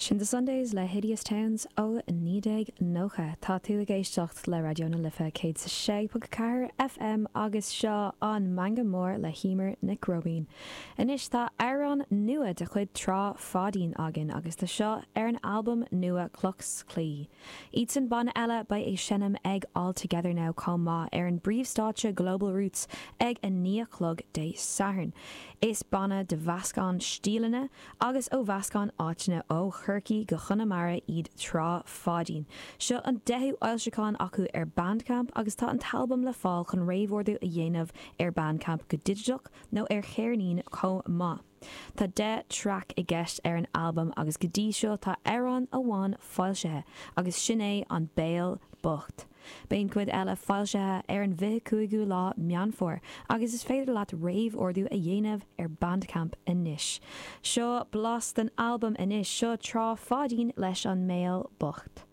Sin The Sundays le Hideous Towns ó 1990. Tá tú ag éisteacht le Raidió na Life 106.4 FM agus seo an Meangadh Mór le hEmer Nic Róibín. Anois tá amhrán nua de chuid Trá Pháidín againn agus tá seo ar an albam nua Cloch 's Claí. Iadsan banna eile beidh ag seinm ag All Together Now chomh maith ar an bpríomhstáitse Global Roots ag 9 a chlog Dé Sathairn. Is banna de mheascán stíleanna agus ó mheascán áiteanna ó Chorcaí go Chonamara iad Trá Pháidín. Seo an deichiú fhoilseachán acu ar Bandcamp agus tá an t-albam le fáil chun réamhordú a dhéanamh ar Bandcamp go digiteach nó ar cheirnín chomh maith. Tá 10 traic i gceist ar an albam agus go dtí seo tá amhrán amháin foilsithe agus sin é An Béal Bocht. Beidh an chuid eile foilsithe ar an 25ú lá Meán Fómhair agus is féidir leat réamhordú a dhéanamh ar Bandcamp anois. Seo blas den albam anois, seo Trá Pháidín leis An mBéal Bocht.